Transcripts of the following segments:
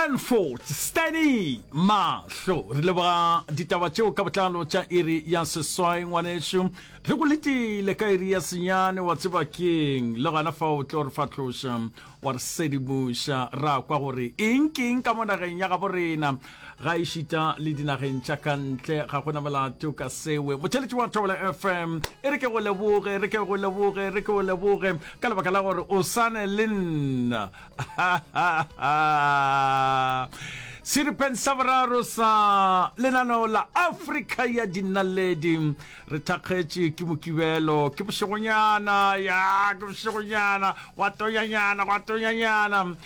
Stanford Stanny Mahlo. Re leboga ditaba tšeo ka botlalo tša iri ya seswai ngwanešu. Re go letile ka iri ya senyane wa tseba keng le gona fa o tlo re fatloša wa re sedimoša ra kwa gore eng ke eng ka mo nageng ya gabo rena ga ešita le dinageng tša ka ntle ga gona molato ka sewe. Motheletši wa Thobela FM e re ke go leboge re ke go leboge re ke go leboge ka lebaka la gore o sane le nna. Seripeng sa boraro sa lenaneo la Afrika ya Dinaledi re thakgetše ke Mokibelo, ke bošegonyana, ya ke bošegonyana, gwa tonyanyana, gwa tonyanyana. Um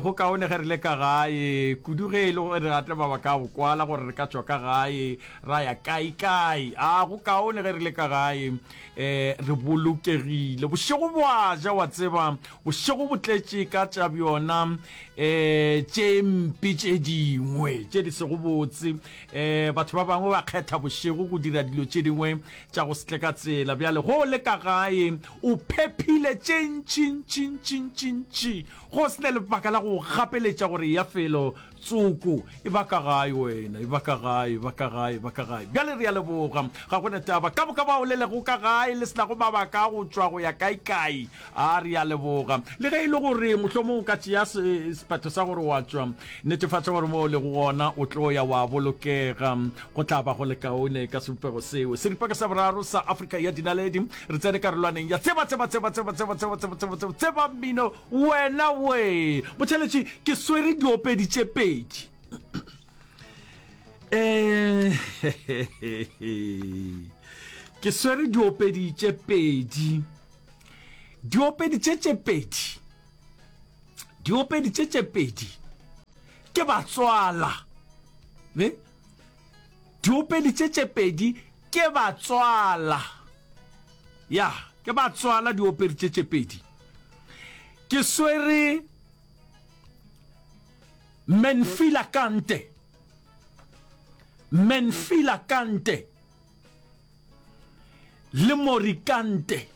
go kaone ge re le ka gae, kudu ge e le gore re atle mabaka a go kwala gore re ka tšwa ka gae ra ya kae-kae. A go kaone ge re le ka gae, um re bolokegile. Bošego bo a ja, wa tseba, Bošego bo tletše ka tša bjona um tše mpe tše dingwe tše di sego botse. Um batho ba bangwe ba kgetha bošego go dira dilo tše dingwe tša go se tle ka tsela. Bjale go le ka gae o phephile tše ntši ntši ntši ntši ntši go se na lebaka la go gapeletša gore eya felo tsoko. E ba ka gae wena, e ba ka gae, e ba ka gae, e ba ka gae. Bjale re a leboga. Ga go na taba. Ka moka bao le lego ka gae le se nago mabaka a go tšwa go ya kae-kae, A re a leboga. Le ge e le gore mohlomong o ka tšea sephetho sa gore wa tšwa, netefatša gore mo o lego gona o tlo ya wa bolokega. Go tla ba go le kaone ka sebopego seo. Seripaka sa boraro sa Afrika ya Dinaledi, re tsene karolwaneng ya Tseba, Tseba, Tseba, Tseba, Tseba, Tseba, Tseba, Tseba, Tseba, Tseba Mmino, Wena Wee! Motheeletši, ke swere diopedi tše pedi. Eh, ke swere diopedi tše pedi. Diopedi tše tše pedi, diopedi tše tše pedi ke batswala. Ne? Diopedi tše tše pedi ke batswala. Ya, ke batswala diopedi tše tše pedi. Ke swere Menfila Kante. Menfila Kante. Le Morikante.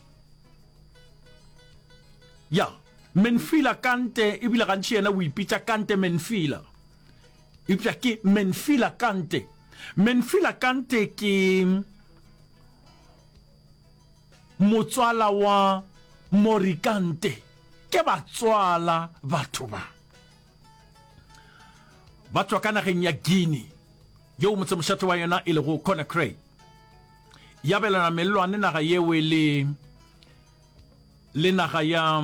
Ya, Menfila Kante, ebile gantši yena o ipitša Kante Menfila. Eupša ke Menfila Kante. Menfila Kante ke motswala wa Morikante. Ke batswala batho ba. Ba tšwa ka nageng ya Guinea, yeo motsemošate wa yona e lego Conakry. Ya abelana mellwane naga yewe le le naga ya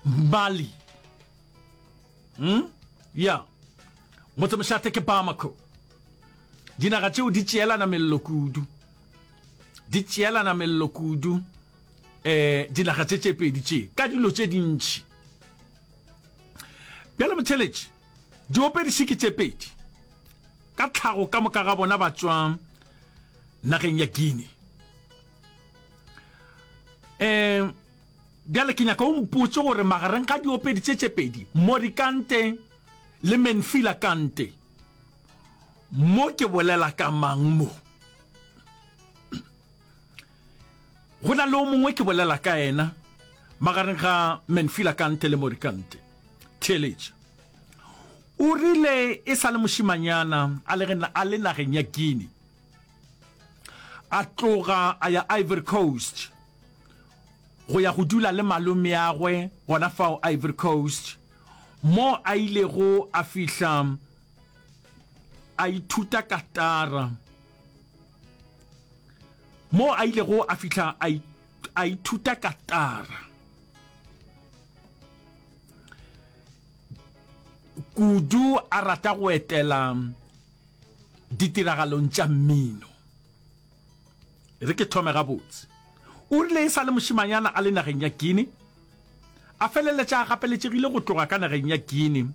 Mali. Hmm? Ya. Motsemošate ke Bamako. Dinaga tšeo di tšeelana mello kudu. Di tšeelana mello kudu. Eh, dinaga tše tše pedi tše ka dilo tše dintši. Bjale motheletši, diopediši ke tše pedi. Ka tlhago ka moka ga bona ba tšwa nageng ya Guinea. Um bjale ke nyaka o mpotše gore magareng ga diopedi tše tše pedi, Mori Kante le Menfila Kante, mo ke bolela ka mang mo? Go na le o mongwe ke bolela ka yena magareng ga Menfila Kante le Mori Kante. Theeletša. O rile e sa le mošemanyana a le, a le nageng ya Guinea, a tloga a ya Ivory Coast go ya go dula le malomeagwe gona fao Ivory Coast, mo a ilego a fihla a ithuta katara, mo a ilego a fihla a, a ithuta katara. Kudu a rata go etela ditiragalong tša mmino. E re ke thome gabotse. O rile e sa le mošemanyana a le nageng ya Guinea, a feleletša a gapeletšegile go tloga ka nageng ya Guinea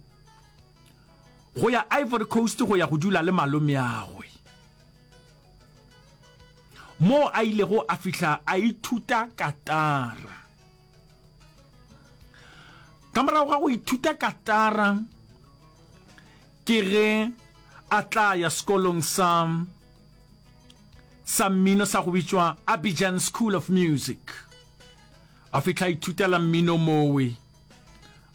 go ya Ivory Coast go ya go dula le malomeagwe, moo a ilego a fihla a ithuta katara. Ka morago ga go ithuta katara, ke ge a tla ya sekolong sa sa mmino sa go bitšwa Abidjan School of Music. A fihla a ithutela mmino mowe.